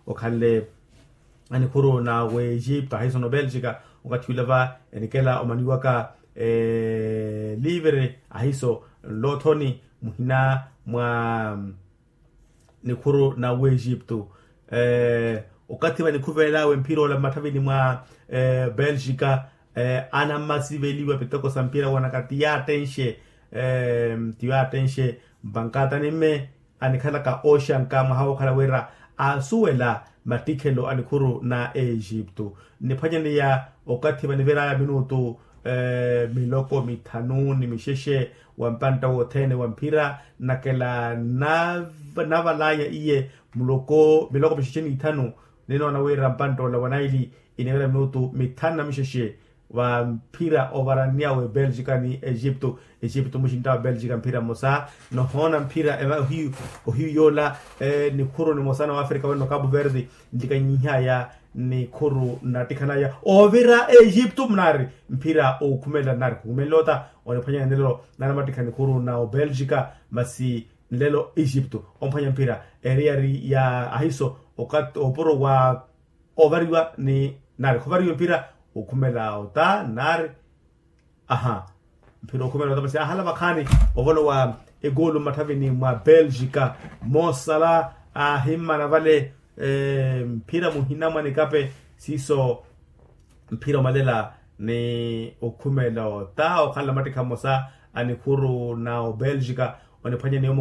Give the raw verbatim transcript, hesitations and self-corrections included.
okhanle anikhuru na w'egipto ahiiso n'obelgika. Okathi ula va enikela omaniwaka livre ahiiso nloothoni muhina mwa nikhuru na w'egipto. Okathi vanikhuvelelawe mphira ola mmatthavini mwa belgika anammasiveliwa pitoko sa mphira woonaka ti yaattenxe ti yaattenxe mpankatani mme anikhalaka ooxanka mwaha wookhala wira aasuwela mattikhelo a nikhuru na egipto. Nniphwanyaneya okathi vaniveraya minutu miloko mithanu ni mixexe wa mpantta wothene wa mphira nnakela navalaya iye muloko miloko mixexe n'ithanu. Ninoona wira mpantta ola wa naili inivera minutu mithanu na mixexe va mphira ovaranniya we belgika ni egipto. Egipto muxintta wa belgika mphira mmosa nohoona mphira ohiyu yoola nikhuru nimosa na wafrika wene okapu verdi nlikanyihaya nikhuru nnattikhanaya oovira egipto mnaari mphira okhumela nnaari khukhumela ota oniphwanyana nlelo nari amattikha nikhuru na obelgika masi nlelo egipto omphwanya mphira eriyari ya ahiso opuro wa ovariwa ni nari khovariwa mphira okhumela ota nari aha mphira okhumela ota masi ahala vakhaani ovolowa egoolu mmatthavini mwa belgika mosala ahimmana vale mphira muhina mwa nikape siiso mphira omalela ni okhumela ota okhala mattikha mmosa a nikhuru na obelgika oniphwanya ni